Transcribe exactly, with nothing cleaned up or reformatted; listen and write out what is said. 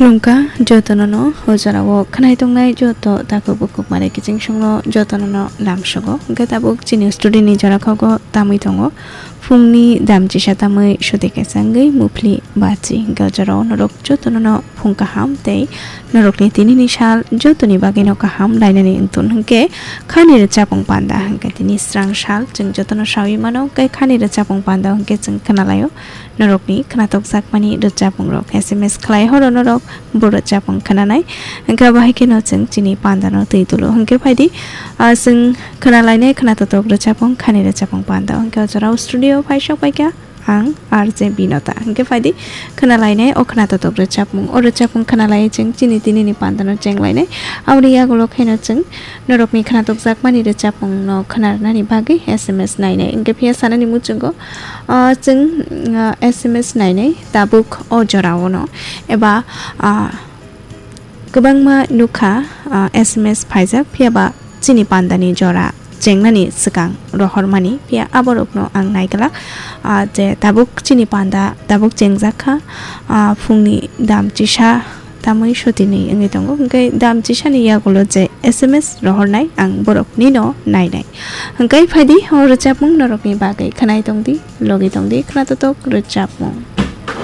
Khulumkha jotono no, o jorao khwnai tongnai joto takhuk bukhuk mare kiching songno jotono no lamsogo. Hwnkhe tabuk chini studio ni jora khogo tamwi tongo. Phungni damchisa tamwi soti kaisa wngwi muphli bachi. Hwnkhe o jorao norok jotono no phung kaham tei norokni tinini sal jotoni bagwino kaham lainani wngthun hwnkhe khani rwchapung panda hwnkhe tini srang sal chwng jotono sawi mano. Hwnkhe khani rwchapung panda hwnkhe chwng khwnalaio. Norokni khwnatokjakmani rwchapmungrok S M S khlai horo norok bo rwchapmung khwnanai. Hwnkhe abo hai kheno chwng chini pandano twi tulo. Hwnkhe phaidi, ah, chwng khwnalainai khwnatotok rwchapmung khani rwchapmung panda. Hwnkhe o jorao studio phai sok paikha ang R J Binota. Hwnkhe phaidi khwnalainai o khwnatotok rwchapmung. O rwchapmung khwnalai chwng chini tinini pandano chenglainai. Aboni yagulo kheno chwng norokni khwnatokjakmani rwchapmungno khwnarnani bagwi S M S nainai. Hwnkhe phiya sanani muchungo, ah, chwng, ah, S M S nainai tabuk o jorao no eba, ah, kwbangma nukha, ah, S M S phaijak, phiya ba chini pandani jora chengnani swkang rohormani, phiya aborokno ang naiglak, ah, je tabuk chini panda tabuk chengjak kha, ah, phungni dam chisa tamwi sotini wngwi tongo, hwnkhe dam chisani yagulo je S M S rohornai ang boroknino nainai. Hwnkhe phaidi o rwchapmung norokni bagwi khwnai tongdi, logi tongdi, khwnatotok rwchapmung.